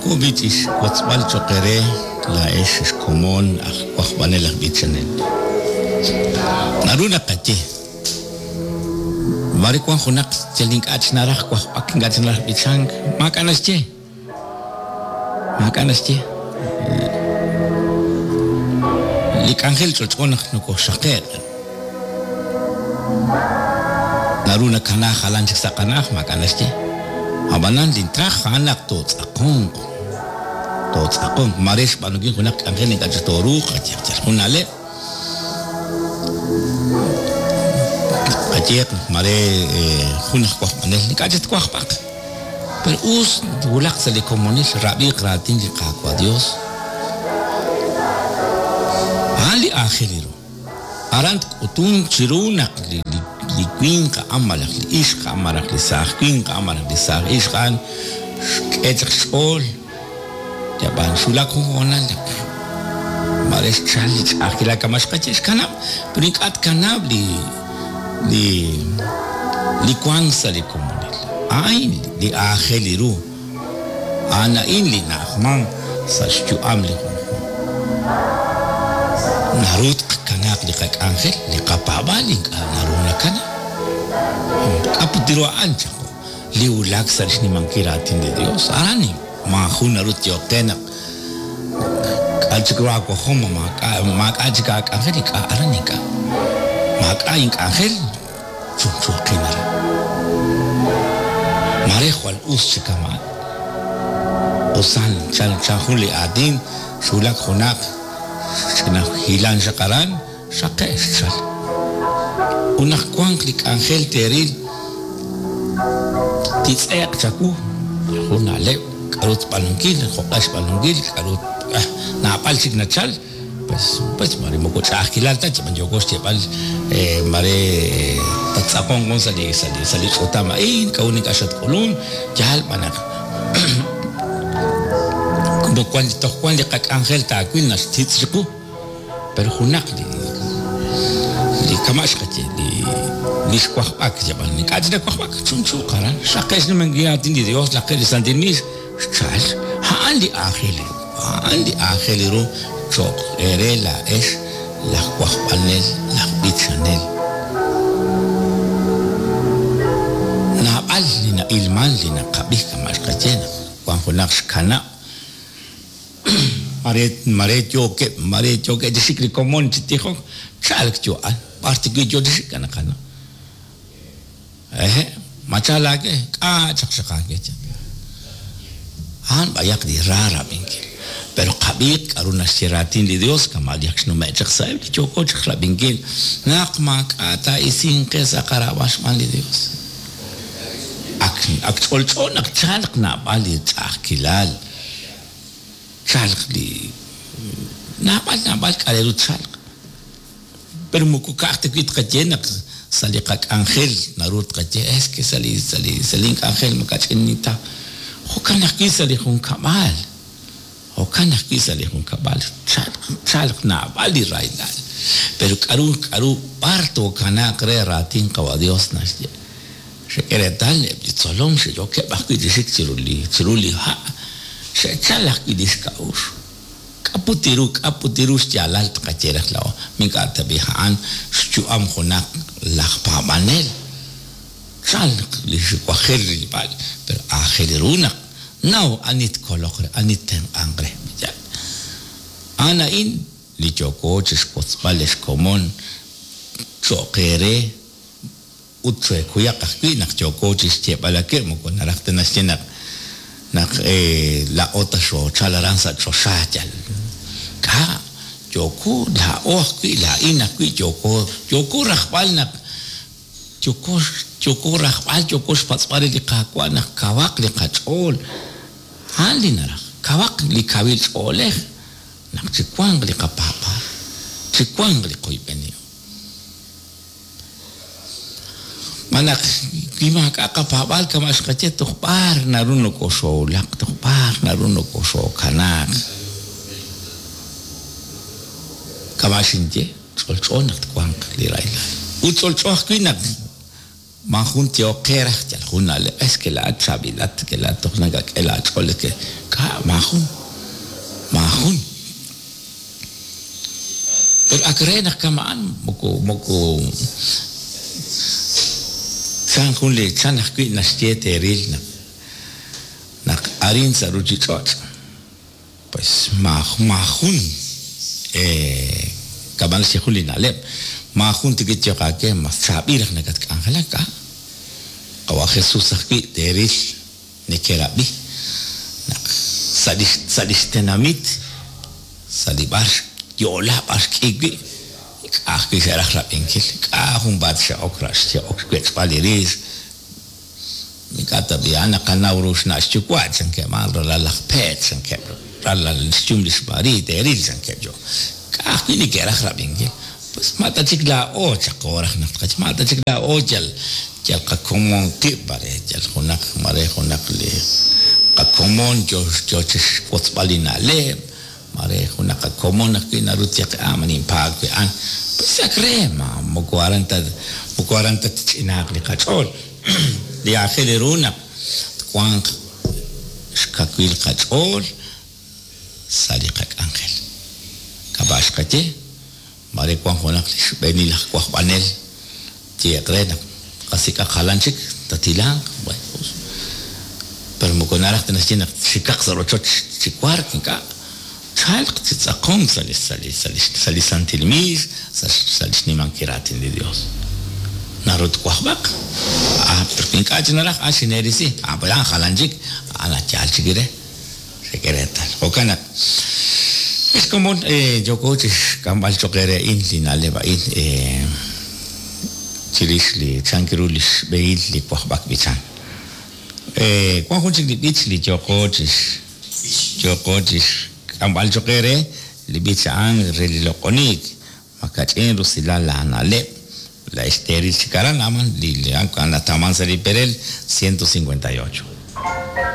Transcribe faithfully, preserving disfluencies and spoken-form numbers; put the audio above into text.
Yoko bichix wotzb'al choq eere laa'ex xkomon aj wajb'anel aj b'ichanel. Naru naqaye mare wan junaq yal ink'a' chi naraj wajb'ak, ink'a' chi naraj b'ichank, maak'a' naxye. Maak'a' naxye. Li k'anjel ch'olch'o naq nokoxaqe'q. Naru nakana jalan chik sa' qana'aj, maak'a' naxye. Ab'anan lintraj a'an naq tootz'aqonq. Tootz'aqonq mare xb'aanunkil junaq k'anjel ink'a' chi tooruuq, qayehaq yal jun na'leb'. Qayehaq mare jun aj wajb'anel ink'a' chi twajb'aq. Pero us wulaq sa' li komonil rab'iiq raatin li Qaawa' Dios. A'an li aajel ru. Aran tk'utunk chiru naq li li winq a'an malaj li ixq a'an malaj li saaj winq a'an malaj li saaj ixq a'an xk'e chaq xch'ool. Yab'an xulak jun hoonal naq mare xchal li ch'a'ajkilal kama xqaye xkanab', pero ink'a' tkanab' li li li wank sa' li komonil. A'in li aajel ru. A'an a'in li na'ajman sa' xyu'am li junjunq. Naru tqakanaaq li qak'anjel, li qapaab'aal ink'a' naru nakana. K'aput ru a'an chaqo li wulak sa' xnimankil raatin li Dios. Aran maajun naru tyoqe naq k'a' chik ru aawajom, maak'a' maak'a' chik aak'anjel, ink'a' aran ink'a'. Maak'a' ink'anjel, chunchuuqin aran. Mare jwal us chi kama'. Usan chan chan jun li aatin xwulak junaq ch'ina hilan xaq aran, xaqe' xchal. Ut naq wanq li k'anjel teeril titz'eq chawu jun na'leb' k'aru tb'aanunkil, jo'q'e xb'aanunkil, k'aru naab'al chik nachal, pues pues mare moko ch'a'ajkilal ta chib'an yoko xyeeb'al mare tattz'aqonq sa' li sa' li sa' li ch'utam a'in, k'a'ut ink'a' xatk'ulun, yaal b'an naq como wan toj wan li qak'anjel taawil naxtitz' chiqu, pero junaq li li kama' xqaye li li xwajb'ak yab'an ink'a' chi nawajb'ak chunchuuq aran, xaqe' xnimankil raatin li Dios, laqe' li Santil Miix xchal, a'an li aajel ru, a'an li aajel ru choq eere laa'ex laj wajb'anel, laj b'ichanel. Naab'al li na'ilman li naqab'i kama' xqaye naq wan junaq xkanab'. Mare mare yookeb', mare yookeb' chi xik li komon chi tijok, chalk yo a'an, b'ar tiwi' yo chi xik anaqano. Eje, machal aake, k'a' chaq xaq aake chan. A'an b'ayaq li ra rab'inkil. Pero qab'iiq k'aru naxye raatin li Dios kama' li ak xnume' chaq sa'eb' li yooko chaq rab'inkil naq maak'a' taa'isinq qe sa' qarab'al xb'aan li Dios. Ak ak ch'olch'o naq chalq naab'al li ch'a'ajkilal, chalq li naab'al naab'al k'a' ru chalq. Pero moko ka'aj ta wi' tqaye naq sa' li qak'anjel naru tqaye es que sa' li sa' li sa' link'anjel makach'in ta. Jo'kan ajwi' sa' li junkab'al. Jo'kan ajwi' sa' li junkab'al chalq chalq naab'al li rahilal. Pero k'aru k'aru b'ar tookanaaq re raatin Qawa' Dios naxye. Xek'e reetal eb' li tzolom xe'yookeb' ajwi' chi xik chiru li chiru li ha'. Xe'chal ajwi' li xk'a'uxl. K'aput ru k'aput ru xyaalal tqaye raj laa'o. Mink'a' tab'i a'an xyu'am junaq laj paab'anel. Chalq li xiwajel rilb'al, pero aajel ru naq naw ani tkoloq re, ani ttenq'anq re. A'an a'in li yooko chi xwotzb'al li xkomon cho'q eere ut chekuyaq ajwi' naq yooko chi xyeeb'al ake' moko naraj ta naxye naq naq laa'o ta xoochal aran sa' choxa yal. K'a' yooko laa'o ajwi' laa'in ajwi' yooko yooko rajb'al naq yooko yooko rajb'al yooko xpatz'b'al re li Qaawa' naq kawaq li qach'ool. A'an li naraj, kawaq li kawil ch'oolej naq chiwanq li qapaab'aal, chiwanq li qoyb'enihom. Manaq wi maak'a' qapaab'aal kama' xqaye toj b'ar naru nokoxoowulaq, toj b'ar naru nokoxookanaaq. Kama' xinye, ch'olch'o naq twanq li rahilal. Ut ch'olch'o ajwi' naq maajun tyoqe raj yal jun na'leb', es que laa'at chaab'ilat, que laa'at toj nakak'e laach'ool, es que K'a' maajun maajun pero ak re naq kama'an moko moko chan jun li chan ajwi' naxye teeril naq naq arin sa' ruuchich'och' pues maajun kama'an naxye jun li na'leb' maajun tikityoq aake mas chaab'il raj nakatk'anjelak k'a' qawa' Jesús ajwi' teeril nekerab'i naq sa' li sa' li xtenamit sa' li b'ar yo'la b'ar xk'i wi' k'a' ajwi' xe'raj rab'inkil k'a' junpaat xe'ok xe'ok xwech'b'al li rix ink'a' tab'i a'an naqanaw ru xna' xyuwa' chankeb' a'an ralal laj Peet chankeb' ralal xyum lix María teeril chankeb' yo k'a' ajwi' neke'raj rab'inkil pues ma ta chik laa'o chaqo raj naq tqach ma ta chik laa'o yal yal qakomon qib' mare yal junaq mare junaq li qakomon yo yo chixwotzb'al li na'leb' mare junaq qakomon ajwi' naru tyeq ah ma ninpaag wi' a'an pues ak re ma moko aran ta moko aran ta tch'inaaq li qach'ool li aajel ru naq twanq xkawil qach'ool sa' li qak'anjel kama' xqaye mare wan junaq li xb'eenil aj wajb'anel tyeeq re naq qasik'aq jalan chik tatilanq bueno pues pero moko naraj ta naxye naq xikaq sa' rochoch chi wark ink'a' chalq chi tz'aqonk sa' li sa' li sa' li sa' li santil miis sa' sa' li xnimankil raatin li Dios naru twajb'aq ah pero ink'a' chi naraj ah xineerisi ah pues a'an jalan chik a'an yaal chik re xek'e reetal jo'kan naq ex komon yooko chi xk'amb'al cho'q eere a'in li na'leb' a'in chirix li chan ru li xb'ehil li wajb'ak b'ichan wan jun chik li b'ich li yooko chi yooko chi xk'amb'al cho'q eere li b'ich a'an re li loq'oniik makach'in rusilal laana'leb' la xteeril chik aran aman li li natawman sa' li perel ciento cincuenta y ocho.